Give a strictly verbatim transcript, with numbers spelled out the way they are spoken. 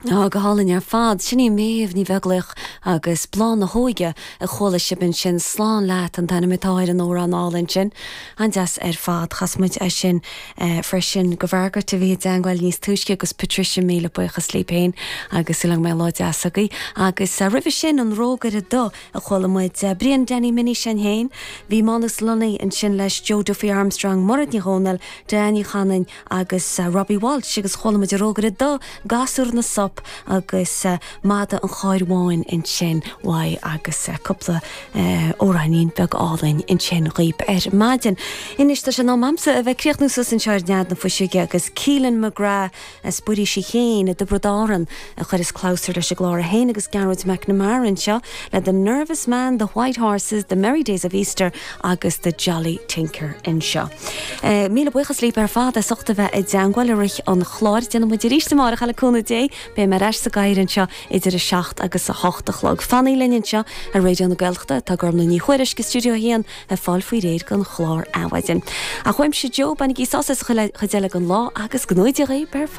Á go hálainn ar fad sin í Méabh Ní Bheaglaoich agus Bláth na hÓige a chuala sibh ansin slán leat an t-ainm atá ar an amhrán álainn sin. An-deas ar fad chas muid é sin eh, freisin go bhfeargairt a bhí dengil níos túisce agus Patricia míle buíochas libh féin agus súil agam go mbeidh lá deas agaibh agus uh, roimhe sin an Rógaire Dubh a chuala muid uh, Brian Danny Minnie sin féin, bhí Manus Lunny ansin leis Joe Duffy Armstrong Mairéad Ní Dhomhnaill, Danny Chanan agus uh, Robbie Walsh agus chuala muid Rógaire Dubh Gasúr na Sop agus uh, Madadh an Chairr Bháin ansin uaidh agus uh, cúpla uh, amhráinín beag álainn ansin dhaoibh ar maidin. Anois tá sé in am a'msa a bheith críochnú suas anseo ar Nead na Fuiseoige agus Keelan McGrath as Buiríos Uí Chéin i dTiobraid Árann a chuireas clabhsúr leis an gclár féin agus Gearóid McNamara anseo le The Nervous Man, The White Horses, The Merry Days of Easter agus The Jolly Tinker anseo. Uh, Míle buíochas libh ar fad as ucht a bheith i dteagmháil i rith an chláir déanfaidh muid arís amárach le cúnamh Dé, beidh mé ar ais sa gcathaoir anseo idir a seacht agus a hocht a chlog. Fanaigí linn anseo ar Raidió na Gaeltachta tá Gormfhlaith Ní Thuairisg i stiúideo a haon ag fáil faoi réir don chlár Adhmhaidin. Ach uaimse Joe bainigí sas sa chuid eile den lá agus go ngnóthaí Dia dhaoibh ar fad.